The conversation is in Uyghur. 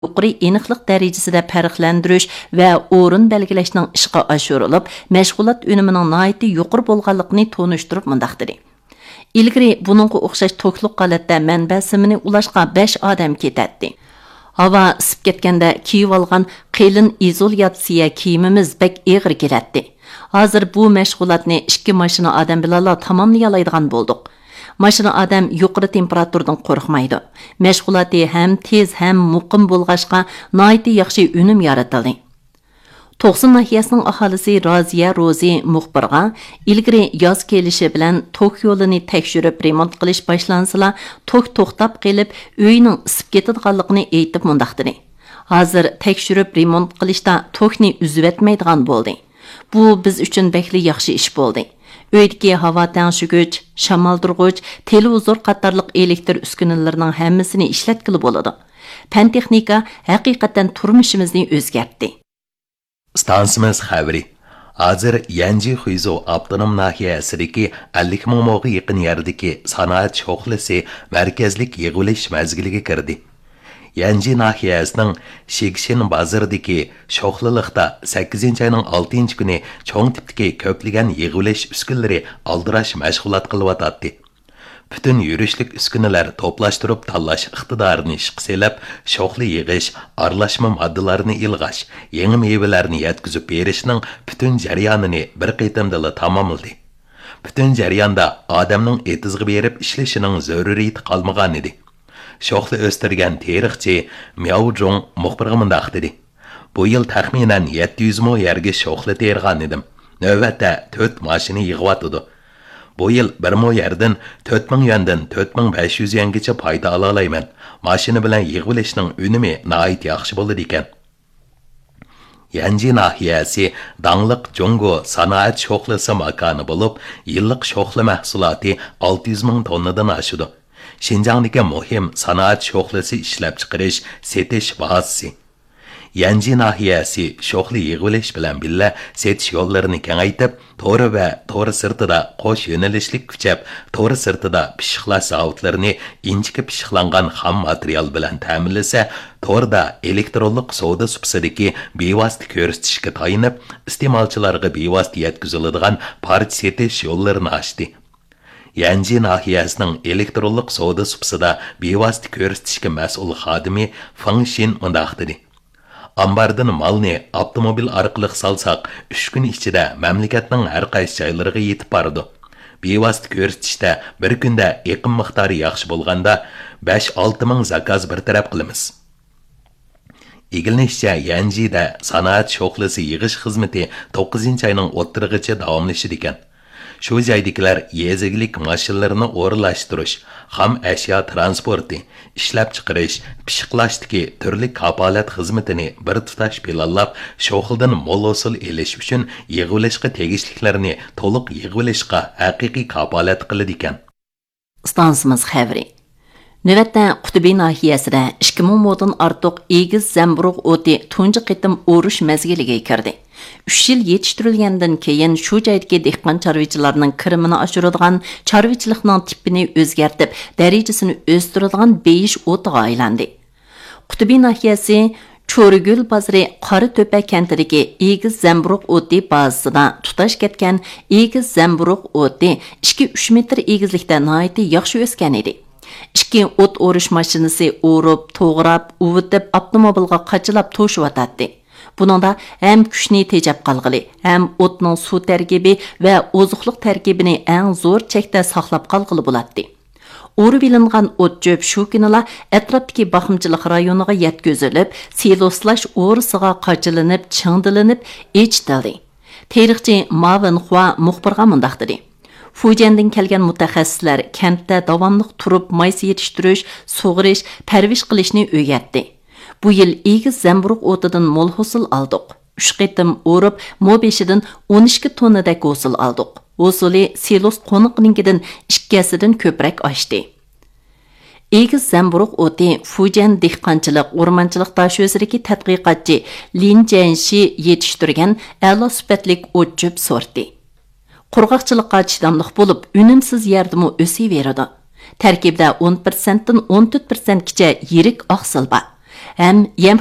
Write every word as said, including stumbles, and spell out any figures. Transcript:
يۇقىرى ئېنىقلىق دەرىجىسىدە پەرقلەندۈرۈش ۋە ئورۇن بەلگىلەشنىڭ ئىشقا ئاشۇرۇلۇپ، مەشغۇلات ئۈنۈمىنىڭ ناھايىتى يۇقىرى بولغانلىقىنى تونۇشتۇرۇپ مۇنداق دېدى: «ئىلگىرى بۇنىڭغا ئوخشاش توكلۇق ھالەتتە مەنبە سىمىنى ئۇلاشقا بەش ئادەم كېتەتتى. ھاۋا ئىسسىپ كەتكەندە كىيىۋالغان قېلىن ئىزولياتسىيە كىيىمىمىز بەك ئېغىر كېلەتتى. ھازىر بۇ مەشغۇلاتنى ئىككى ماشىنا ئادەم بىلەنلا تاماملىيالايدىغان بولدۇق. ماشىنا ئادەم يۇقىرى تېمپېراتۇرىدىن قورقمايدۇ. مەشغۇلاتى ھەم تېز، ھەم مۇقىم بولغاچقا، ناھايىتى ياخشى ئۈنۈم يارىتىلدى.» توقسۇن ناھىيەسىنىڭ ئاھالىسى رازىيە روزى مۇخبىرغا، ئىلگىرى ياز كېلىشى بىلەن توك يولىنى تەكشۈرۈپ رېمونت قىلىش باشلانسىلا، توك توختاپ قېلىپ، ئۆينىڭ ئىسسىپ كېتىدىغانلىقىنى ئېيتىپ مۇنداق دېدى: «ھازىر تەكشۈرۈپ رېمونت قىلىشتا توكنى ئۈزۈۋەتمەيدىغان بولدى. بۇ بىز ئۈچۈن بەكلا ياخشى ئىش بولدى. ئۆيدىكى ھاۋا تەڭشىگۈچ، شامالدۇرغۇچ، تېلېۋىزور قاتارلىق ئېلېكتر ئۈسكۈنىلىرىنىڭ ھەممىسىنى ئىشلەتكىلى بولىدۇ. پەن تېخنىكا ھەقىقەتەن تۇرمۇشىمىزنى ئۆزگەرتتى.» ئىستانسىمىز خەۋىرى. ھازىر يەنجى خۇيزۇ ئاپتونوم ناھىيەسىدىكى ئەللىك مىڭ موغا يېقىن يەردىكى سانائەت شوخلىسى مەركەزلىك يىغىۋېلىش مەزگىلىگە كىردى. يەنجى ناھىيەسىنىڭ شىگشىن بازىرىدىكى شوخلىلىقتا سەككىزىنچى ئاينىڭ ئالتىنچى كۈنى چوڭ تىپتىكى كۆپلىگەن يىغىۋېلىش ئۈسكۈنىلىرى ئالدىراش مەشغۇلات قىلىۋاتاتتى. پۈتۈن يۈرۈشلۈك ئۈسكۈنىلەر توپلاشتۇرۇپ تاللاش ئىقتىدارىنى ئىشقا سېلىپ، شوخلا يىغىش، ئارىلاشما ماددىلارنى ئىلغاش، يېڭى مېۋىلەرنى يەتكۈزۈپ بېرىشنىڭ پۈتۈن جەريانىنى بىر قېتىمدىلا تاماملىدى. پۈتۈن جەرياندا ئادەمنىڭ ئېتىزغا بېرىپ ئىشلىشىنىڭ زۆرۈرىيىتى قالمىغانىدى. شوخلا ئۆستۈرگەن تېرىقچى مياۋ جۇڭ مۇخبىرغا مۇنداق دېدى: «بۇ يىل تەخمىنەن يەتتە يۈز مو يەرگە شوخلا تېرىغانىدىم. نۆۋەتتە تۆت ماشىنا يىغىۋاتىدۇ. بۇ يىل بىر مو يەردىن تۆت مىڭ يۈەندىن تۆت مىڭ بەش يۈز يۈەنگىچە پايدا ئالالايمەن. ماشىنا بىلەن يىغىۋېلىشنىڭ ئۈنۈمى ناھايىتى ياخشى بولىدىكەن.» يەنجى ناھىيەسى داڭلىق جۇڭگو سانائەت شوخلىسى ماكانى بولۇپ، يىللىق شوخلا مەھسۇلاتى ئالتە يۈز مىڭ توننىدىن ئاشىدۇ. شىنجاڭدىكى مۇھىم سانائەت شوخلىسى ئىشلەپچىقىرىش، سېتىش بازىسى. يەنجى ناھىيەسى شوخلا يىغىۋېلىش بىلەن بىللە سېتىش يوللىرىنى كېڭەيتىپ، تور ۋە تور سىرتىدا قوش يۆنىلىشلىك كۈچەپ، تور سىرتىدا پىششىقلاش زاۋۇتلىرىنى ئىنچىكە پىششىقلانغان خام ماتېرىيال بىلەن تەمىنلىسە، توردا ئېلېكترونلۇق سودا سۇپىسىدىكى بىۋاسىتە كۆرسىتىشكە تايىنىپ، ئىستېمالچىلارغا بىۋاسىتە يەتكۈزۈلىدىغان پارچە سېتىش يوللىرىنى ئاچتى. يەنجى ناھىيەسىنىڭ ئېلېكترونلۇق سودا سۇپىسىدا بىۋاسىتە كۆرسىتىشكە مەسئۇل خادىمى فېڭ شىن مۇنداق دېدى: «ئامباردىن مالنى ئاپتوموبىل ئارقىلىق سالساق، ئۈچ كۈن ئىچىدە مەملىكەتنىڭ ھەر قايسى جايلىرىغا يېتىپ بارىدۇ. بىۋاسىتە كۆرسىتىشتە بىر كۈندە ئېقىم مىقدارى ياخشى بولغاندا، بەش-ئالتە مىڭ زاكاز بىر تەرەپ قىلىمىز.» ئىگىلىنىشىچە، يەنجىدە سانائەت شوخلىسى يىغىش خىزمىتى توققۇزىنچى ئاينىڭ ئوتتۇرىغىچە داۋاملىشىدىكەن. شۇ جايدىكىلەر يېزا ئىگىلىك ماشىنىلىرىنى ئورۇنلاشتۇرۇش، خام ئەشيا تىرانسپورتى، ئىشلەپچىقىرىش، پىششىقلاشتىكى تۈرلۈك كاپالەت خىزمىتىنى بىر تۇتاش پىلانلاپ، شوخلىدىن مول ھوسۇل ئېلىش ئۈچۈن يىغىۋېلىشقا تېگىشلىكلەرنى تولۇق يىغىۋېلىشقا ھەقىقىي كاپالەت قىلىدىكەن. ئىستانسىمىز خەۋىرى. نۆۋەتتە قۇتۇبى ناھىيەسىدە ئىككى مىڭ مودىن ئارتۇق ئېگىز زەمبۇرۇغ ئوتى تۇنجى قېتىم ئورۇش مەزگىلىگە كىردى. ئۈچ يىل يېتىشتۈرۈلگەندىن كېيىن، شۇ جايدىكى دېھقان چارۋىچىلارنىڭ كىرىمىنى ئاشۇرىدىغان، چارۋىچىلىقنىڭ تىپىنى ئۆزگەرتىپ، دەرىجىسىنى ئۆستۈرىدىغان بېيىش ئوتىغا ئايلاندى. قۇتۇبى ناھىيەسى چورىگۈل بازىرى قارا تۆپە كەنتىدىكى ئېگىز زەمبۇرۇغ ئوتى بازىسىدا تۇتاش كەتكەن ئېگىز زەمبۇرۇغ ئوتى ئىككى ئۈچ مېتىر ئېگىزلىكتە ناھايىتى ياخشى ئۆسكەن ئىدى. ئىككى ئوت ئورۇش ماشىنىسى ئورۇپ، توغراپ، ئۇۋۇتۇپ، ئاپتوموبىلغا قاچىلاپ توشۇۋاتاتتى. بۇنىڭدا ھەم كۈچنى تېجەپ قالغىلى، ھەم ئوتنىڭ سۇ تەركىبى ۋە ئوزۇقلۇق تەركىبىنى ئەڭ زور چەكتە ساقلاپ قالغىلى بولاتتى. ئورۇۋېلىنغان ئوت-چۆپ شۇ كۈنىلا ئەتراپتىكى باقمىچىلىق رايونىغا يەتكۈزۈلۈپ، سىلوسلاش ئورىسىغا قاچىلىنىپ، چىڭدىلىنىپ، ئېچىتىلدى. تېرىقچى ما ۋېنخۇا مۇخبىرغا مۇنداق دېدى: «فۇجيەندىن كەلگەن مۇتەخەسسىسلەر كەنتتە داۋاملىق تۇرۇپ، مايسا يېتىشتۈرۈش، سۇغىرىش، پەرۋىش قىلىشنى ئۆگەتتى. بۇ يىل ئېگىز زەمبۇرۇغ ئوتىدىن مول ھوسۇل ئالدۇق. ئۈچ قېتىم ئورۇپ، مو بېشىدىن ئون ئىككى توننىدەك ھوسۇل ئالدۇق. ھوسۇلى سىلوس قونىقىنىڭكىدىن ئىككى ھەسسىدىن كۆپرەك ئاشتى.» ئېگىز زەمبۇرۇغ ئوتى فۇجيەن دېھقانچىلىق، ئورمانچىلىق داشۆسىدىكى تەتقىقاتچى لىن جيەنشى يېتىشتۈرگەن ئەلا سۈپەتلىك ئوت-چۆپ سورتى. قۇرغاقچىلىققا چىداملىق بولۇپ، ئۈنۈمسىز يەردىمۇ ئۆسۈۋېرىدۇ. تەركىبىدە ئون پىرسەنتتىن ئون تۆت پىرسەنتكىچە يىرىك ئاقسىل بار. ھەم يەم